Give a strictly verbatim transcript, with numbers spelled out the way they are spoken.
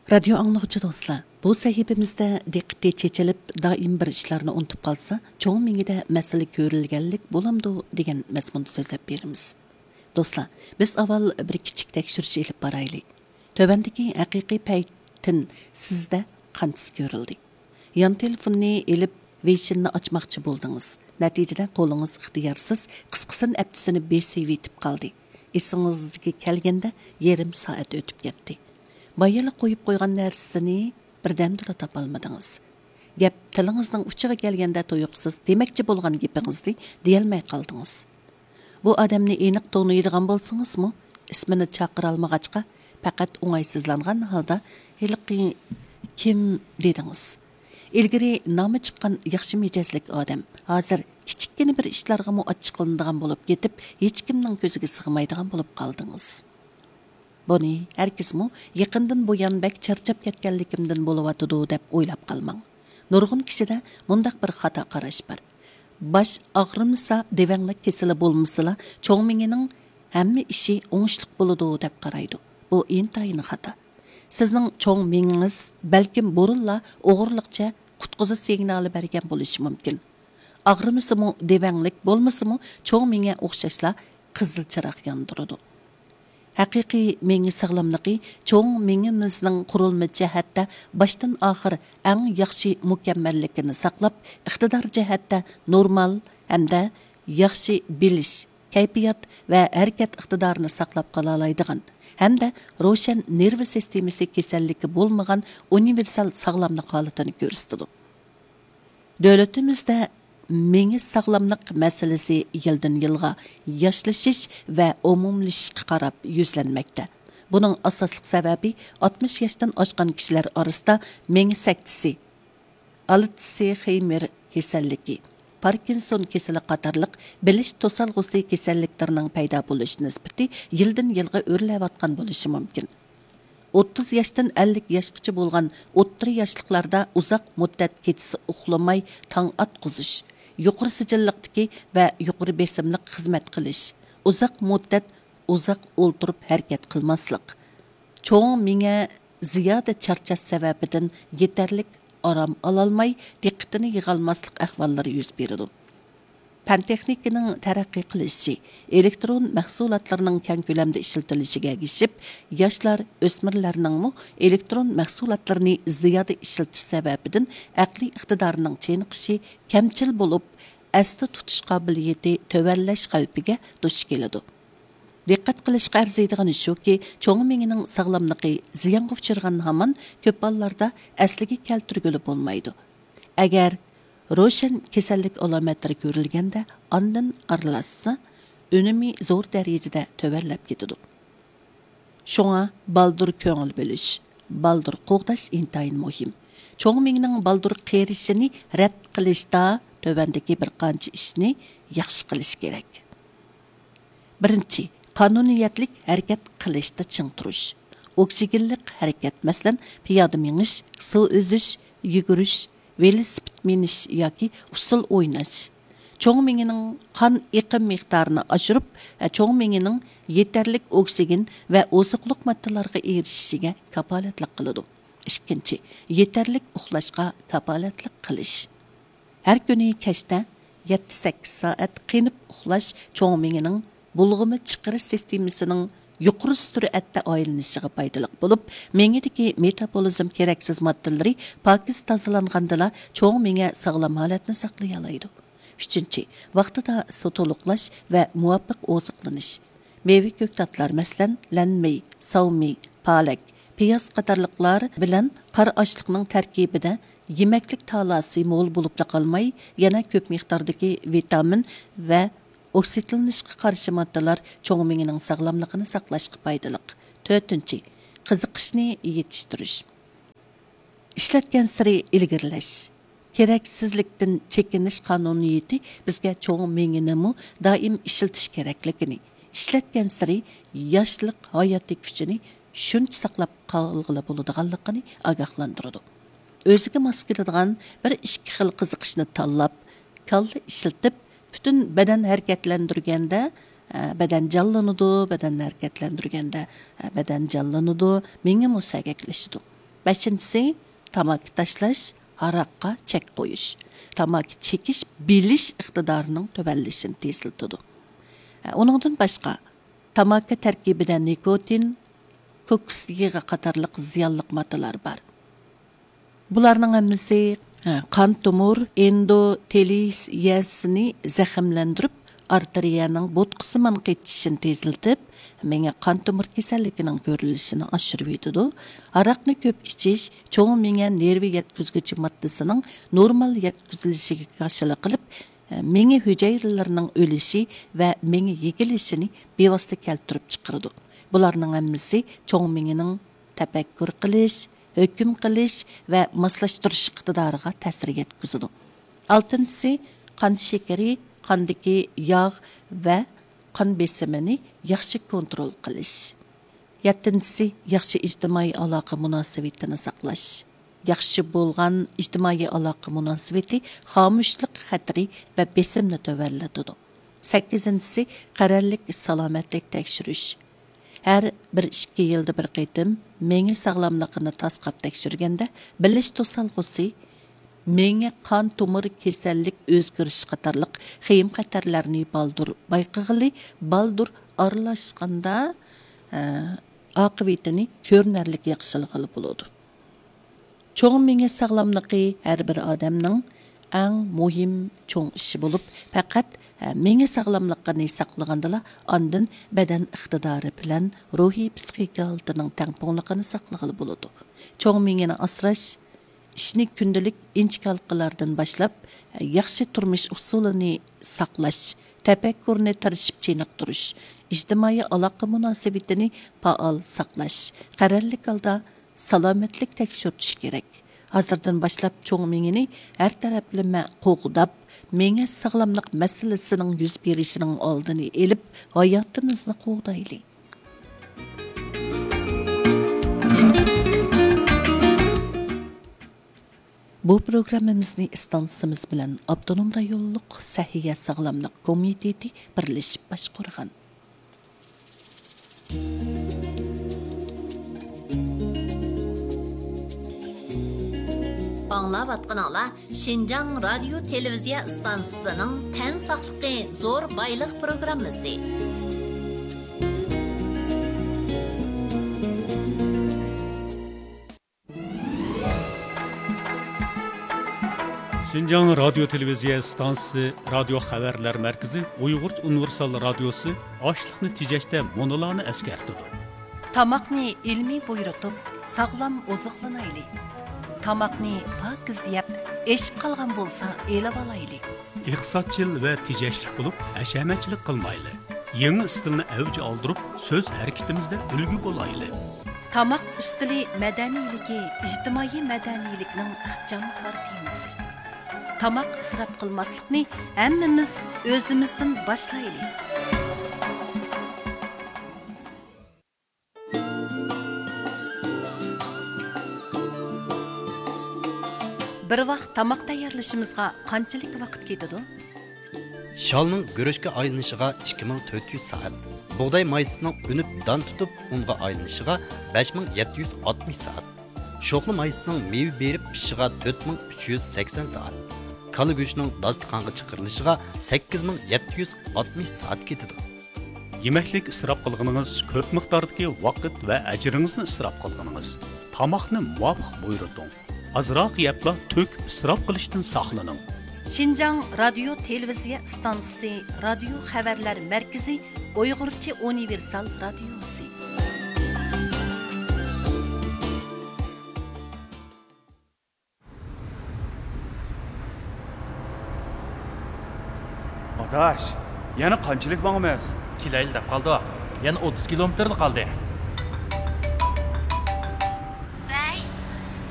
رادىيو ئاڭلىغۇچى دوستلار، بۇ سەھىپىمىزدە دىققىتى چېچىلىپ، دائىم بىر ئىشلارنى ئۇنتۇپ قالسا، چوڭ مېڭىدە مەسىلە كۆرۈلگەنلىك بولامدۇ دېگەن مەزمۇندا سۆزلەپ بېرىمىز. دوستلار، بىز ئاۋۋال بىر كىچىك تەكشۈرۈش ئېلىپ بارايلى. تۆۋەندىكى ھەقىقىي پەيتىن سىزدە قانچىسى كۆرۈلدى؟ يان تېلېفوننى ئېلىپ، ۋېيشىننى ئاچماقچى بولدىڭىز. نەتىجىدە قولىڭىز ئىختىيارسىز قىسقىسىنى ئەپتىسىنى بېسىۋېتىپ قالدى. ئېسىڭىزگە كەلگەندە يېرىم سائەت ئۆتۈپ كەتتى. بايىلا قويۇپ قويغان نەرسىنى بىردەمدىلا تاپالمىدىڭىز. گەپ تىلىڭىزنىڭ ئۇچىغا كەلگەندە تۇيۇقسىز دېمەكچى بولغان گېپىڭىزنى دېيەلمەي قالدىڭىز. بۇ ئادەمنى ئېنىق تونۇيدىغان بولسىڭىزمۇ، ئىسمىنى چاقىرالمىغاچقا، پەقەت ئوڭايسىزلانغان ھالدا، «ھېلىقى كىم؟» دېدىڭىز. ئىلگىرى نامى چىققان ياخشى مىجەزلىك ئادەم، ھازىر كىچىككىنە بىر ئىشلارغىمۇ ئاچچىقلىنىدىغان بولۇپ كېتىپ، ھېچكىمنىڭ كۆزىگە سىغمايدىغان بولۇپ قالدىڭىز. بۇنى ھەرگىزمۇ يېقىندىن بۇيان بەك چارچاپ كەتكەنلىكىمدىن بولۇۋاتىدۇ دەپ ئويلاپ قالماڭ. نۇرغۇن كىشىدە مۇنداق بىر خاتا قاراش بار. باش ئاغرىمىسا، دېۋەڭلىك كېسىلى بولمىسىلا، چوڭ مېڭىنىڭ ھەممە ئىشى ئوڭۇشلۇق بولىدۇ دەپ قارايدۇ. بۇ ئىنتايىن خاتا. سىزنىڭ چوڭ مېڭىڭىز بەلكىم بۇرۇنلا ئوغرىلىقچە قۇتقۇزۇش سىگنالى بەرگەن بولۇشى مۇمكىن. ئاغرىمىسىمۇ، دېۋەڭلىك بولمىسىمۇ، چوڭ مېڭە ئوخشاشلا قىزىل چىراغ ياندۇرىدۇ. ھەقىقىي مېڭە ساغلاملىقى چوڭ مېڭىمىزنىڭ قۇرۇلما جەھەتتە باشتىن ئاخىر ئەڭ ياخشى مۇكەممەللىكىنى ساقلاپ، ئىقتىدار جەھەتتە نورمال ھەمدە ياخشى بىلىش، كەيپىيات ۋە ھەرىكەت ئىقتىدارىنى ساقلاپ قالالايدىغان ھەمدە روشەن نېرۋا سىستېمىسى كېسەللىكى بولمىغان ئۇنىۋېرسال ساغلاملىق ھالىتىنى كۆرسىتىدۇ. دۆلىتىمىزدە مېڭە ساغلاملىق مەسىلىسى يىلدىن يىلغا ياشلىشىش ۋە ئومۇملىشىشقا قاراپ يۈزلەنمەكتە. بۇنىڭ ئاساسلىق سەۋەبى، ئاتمىش ياشتىن ئاشقان كىشىلەر ئارىسىدا مېڭە سەكتىسى، ئالتسىخېيمېر كېسەللىكى، پاركىنسون كېسىلى قاتارلىق بىلىش توسالغۇسى كېسەللىكلىرىنىڭ پەيدا بولۇش نىسبىتى يىلدىن يىلغا ئۆرلەۋاتقان بولۇشى مۇمكىن. ئوتتۇز ياشتىن ئەللىك ياشقىچە بولغان ئوتتۇرا ياشلىقلاردا ئۇزاق مۇددەت كېچىسى ئۇخلىماي تاڭ ئاتقۇزۇش، يۇقىرى سىجىللىقتىكى ۋە يۇقىرى بېسىملىق خىزمەت قىلىش، ئۇزاق مۇددەت ئۇزاق ئولتۇرۇپ ھەرىكەت قىلماسلىق، چوڭ مېڭە زىيادە چارچاش سەۋەبىدىن يېتەرلىك ئارام ئالالماي، دىققىتىنى يىغالماسلىق ئەھۋاللىرى يۈز بېرىدۇ. پەن تېخنىكىنىڭ تەرەققىي قىلىشى، ئېلېكترون مەھسۇلاتلىرىنىڭ كەڭ كۆلەمدە ئىشلىتىلىشىگە ئەگىشىپ، ياشلار، ئۆسمۈرلەرنىڭمۇ ئېلېكترون مەھسۇلاتلىرىنى زىيادە ئىشلىتىش سەۋەبىدىن ئەقلىي ئىقتىدارىنىڭ چېنىقىشى، كەمچىل بولۇپ، ئەستە تۇتۇش قابىلىيىتى تۆۋەنلەش خەۋپىگە دۇچ كېلىدۇ. دىققەت قىلىشقا ئەرزىيدىغىنى شۇكى، چوڭ مېڭىنىڭ ساغلاملىقى زىيانغا ئۇچرىغان ھامان كۆپ ھاللاردا ئەسلىگە كەلتۈرگىلى بولمايدۇ. ئەگەر روشەن كېسەللىك ئالامەتلىرى كۆرۈلگەندە، ئاندىن ئارىلاشسا، ئۈنۈمى زور دەرىجىدە تۆۋەنلەپ كېتىدۇ. شۇڭا بالدۇر كۆڭۈل بۆلۈش، بالدۇر قوغداش ئىنتايىن مۇھىم. چوڭ مېڭىنىڭ بالدۇر قېرىشىنى رەت قىلىشتا تۆۋەندىكى بىر قانچە ئىشنى ياخشى قىلىش كېرەك. بىرىنچى، قانۇنىيەتلىك ھەرىكەت قىلىشتا چىڭ تۇرۇش. ئوكسىگېنلىق ھەرىكەت، مەسىلەن، پىيادە مېڭىش، سۇ ئۈزۈش، يۈگۈرۈش، ۋېلىسىپىت مىنىش ياكى ئۇسسۇل ئويناش. چوڭ مېڭىنىڭ قان ئېقىم مىقدارىنى ئاشۇرۇپ، چوڭ مېڭىنىڭ يېتەرلىك ئوكسىگېن ۋە ئوزۇقلۇق ماددىلارغا ئېرىشىشىگە كاپالەتلىك قىلىدۇ. ئىككىنچى، يېتەرلىك ئۇخلاشقا كاپالەتلىك قىلىش. ھەر كۈنى كەچتە يەتتە سەككىز سائەت قېنىپ ئۇخلاش چوڭ مېڭىنىڭ بۇلغىما چىقىرىش سىستېمىسىنىڭ يۇقىرى سۈرئەتتە ئايلىنىشىغا پايدىلىق بولۇپ، مېڭىدىكى مېتابولىزم كېرەكسىز ماددىلىرى پاكىز تازىلانغاندىلا، چوڭ مېڭە ساغلام ھالەتنى ساقلىيالايدۇ. ئۈچىنچى، ۋاقتىدا سۇ تولۇقلاش ۋە مۇۋاپىق ئوزۇقلىنىش. مېۋە كۆكتاتلار، مەسىلەن، لەنمېي، ساۋمېي، پالەك، پىياز قاتارلىقلار بىلەن قارا ئاشلىقنىڭ تەركىبىدە يېمەكلىك تالاسى مول بولۇپلا قالماي، يەنە كۆپ مىقداردىكى ۋىتامىن ۋە ئوكسىدلىنىشقا قارشى ماددىلار چوڭ مېڭىنىڭ ساغلاملىقىنى ساقلاشقا پايدىلىق. تۆتىنچى، قىزىقىشنى يېتىشتۈرۈش. ئىشلەتكەنسېرى ئىلگىرىلەش. كېرەكسىزلىكتىن چېكىنىش قانۇنىيىتى بىزگە چوڭ مېڭىنىمۇ دائىم ئىشلىتىش كېرەكلىكىنى، ئىشلەتكەنسېرى ياشلىق ھاياتىي كۈچىنى شۇنچە ساقلاپ قالغىلى بولىدىغانلىقىنى ئاگاھلاندۇرىدۇ. ئۆزىگە ماس كېلىدىغان بىر ئىككى خىل قىزىقىشنى تاللاپ، كاللا ئىشلىتىپ، پۈتۈن بەدەن ھەرىكەتلەندۈرگەندە، ئە، بەدەن جانلىنىدۇ، بەدەن ھەرىكەتلەندۈرگەندە، ئە، بەدەن جانلىنىدۇ، مېڭىمۇ سەگەكلىشىدۇ. بەشىنچىسى، تاماكا تاشلاش، ھاراققا چەك قويۇش، تاماكا چېكىش بىلىش ئىقتىدارىنىڭ تۆۋەنلىشىنى تېزلىتىدۇ. ئۇنىڭدىن باشقا، تاماكا تەركىبىدە نىكوتىن، كوكۇس يېغى قاتارلىق زىيانلىق ماددىلار بار. بۇلارنىڭ ھەممىسى، ھە، قان تومۇر ئېندوتېلىيەسىنى زەخىملەندۈرۈپ، ئارتېرىيەنىڭ بوتقا سىمان قېتىشىنى تېزلىتىپ، مېڭە قان تومۇر كېسەللىكىنىڭ كۆرۈلۈشىنى ئاشۇرۇۋېتىدۇ. ھاراقنى كۆپ ئىچىش چوڭ مېڭە نېرۋا يەتكۈزگۈچى ماددىسىنىڭ نورمال يەتكۈزۈلۈشىگە كاشىلا قىلىپ، مېڭە ھۈجەيرىلىرىنىڭ ئۆلۈشى ۋە مېڭە يېگىلىشىنى بىۋاسىتە كەلتۈرۈپ چىقىرىدۇ. بۇلارنىڭ ھەممىسى چوڭ مېڭىنىڭ تەپەككۇر قىلىش، ھۆكۈم قىلىش ۋە ماسلاشتۇرۇش ئىقتىدارىغا تەسىر يەتكۈزىدۇ. ئالتىنچىسى، قان شېكىرى، قاندىكى ياغ ۋە قان بېسىمىنى ياخشى كونترول قىلىش. يەتتىنچىسى، ياخشى ئىجتىمائىي ئالاقە مۇناسىۋىتىنى ساقلاش. ياخشى بولغان ئىجتىمائىي ئالاقە مۇناسىۋىتى خامۇشلۇق خەتىرى ۋە بېسىمنى تۆۋەنلىتىدۇ. سەككىزىنچىسى، قەرەللىك سالامەتلىك تەكشۈرۈش. ھەر بىر ئىككى يىلدا بىر قېتىم مېڭە ساغلاملىقىنى تاسقاپ تەكشۈرگەندە، بىلىش توسالغۇسى، مېڭە قان تومۇر كېسەللىك ئۆزگىرىشى قاتارلىق خېيىم خەتەرلەرنى بالدۇر بايقىغىلى، بالدۇر ئارىلاشقاندا، ئە، ئاقىۋىتىنى كۆرۈنەرلىك ياخشىلىغىلى بولىدۇ. چوڭ مېڭە ساغلاملىقى ھەر بىر ئادەمنىڭ ئەڭ مۇھىم چوڭ ئىشى بولۇپ، پەقەت، ئە، مېڭە ساغلاملىقىنى ساقلىغاندىلا، ئاندىن بەدەن ئىقتىدارى بىلەن روھىي پىسخىكا ھالىتىنىڭ تەڭپۇڭلۇقىنى ساقلىغىلى بولىدۇ. چوڭ مېڭىنى ئاسراش، ئىشنى كۈندىلىك ئىنچىكە ھالقىلاردىن باشلاپ، ياخشى تۇرمۇش ئۇسۇلىنى ساقلاش، تەپەككۇرنى تىرىشىپ چېنىقتۇرۇش، ئىجتىمائىي ئالاقە مۇناسىۋىتىنى پائال ساقلاش، قەرەللىك ھالدا سالامەتلىك تەكشۈرتۈش كېرەك. ھازىردىن باشلاپ چوڭ مېڭىنى ھەر تەرەپلىمە قوغداپ، مېڭە ساغلاملىق مەسىلىسىنىڭ يۈز بېرىشىنىڭ ئالدىنى ئېلىپ، ھاياتىمىزنى قوغدايلى. بۇ پروگراممىمىزنى ئىستانسىمىز بىلەن ئاپتونوم رايونلۇق سەھىيە ساغلاملىق كومىتېتى بىرلىشىپ باشقۇرغان. ئاڭلاۋاتقىنىڭلار شىنجاڭ رادىيو تېلېۋىزىيە ئىستانسىسىنىڭ تەن ساقلىقى زور بايلىق پروگراممىسى. شىنجاڭ رادىيو تېلېۋىزىيە ئىستانسىسى رادىيو خەۋەرلەر مەركىزى ئۇيغۇرچە ئۇنىۋېرسال رادىيوسى ئاشلىقنى تېجەشتە مۇنۇلارنى ئەسكەرتىدۇ. تاماقنى ئىلمىي بۇيرۇتۇپ، ساغلام ئوزۇقلىنايلى. تاماقنى پاكىز يەپ، ئېشىپ قالغان بولسا ئېلىۋالايلى. ئىقتىسادچىل ۋە تېجەشلىك بولۇپ، ھەشەمەتچىلىك قىلمايلى. يېڭى ئىستىلنى ئەۋج ئالدۇرۇپ، سۆز ھەرىكىتىمىزدە ئۈلگە بولايلى. تاماق ئۈستىلى مەدەنىيلىكى ئىجتىمائىي مەدەنىيلىكنىڭ ئىخچام كارتىنىسى. تاماق ئىسراپ قىلماسلىقنى ھەممىمىز ئۆزىمىزدىن باشلايلى. بىر ۋاق تاماق تەييارلىشىمىزغا قانچىلىك ۋاقىت كېتىدۇ؟ شالنىڭ گۈرۈچكە ئايلىنىشىغا ئىككى مىڭ تۆت يۈز سائەت، بۇغداي مايسىسىنىڭ ئۈنۈپ دان تۇتۇپ ئۇنغا ئايلىنىشىغا بەش مىڭ يەتتە يۈز ئاتمىش سائەت، شوخلا مايسىسىنىڭ مېۋە بېرىپ پىشىشىغا تۆت مىڭ ئۈچ يۈز سەكسەن سائەت، كالا گۆشىنىڭ داستىخانغا چىقىرىلىشىغا سەككىز مىڭ يەتتە يۈز ئاتمىش سائەت كېتىدۇ. يېمەكلىك ئىسراپ قىلغىنىڭىز، كۆپ مىقداردىكى ۋاقىت ۋە ئەجرىڭىزنى ئىسراپ قىلغىنىڭىز. تاماقنى مۇۋاپىق بۇيرۇتۇڭ. ئازراق يەپلا تۆكۈپ ئىسراپ قىلىشتىن ساقلىنىڭ. شىنجاڭ رادىيو تېلېۋىزىيە ئىستانسىسى رادىيو خەۋەرلەر مەركىزى ئۇيغۇرچە ئۇنىۋېرسال رادىيوسى. ئاداش، يەنە قانچىلىك ماڭىمىز؟ كېلەيلى دەپ قالدۇق. يەنە ئوتتۇز كىلومېتىرلا قالدى.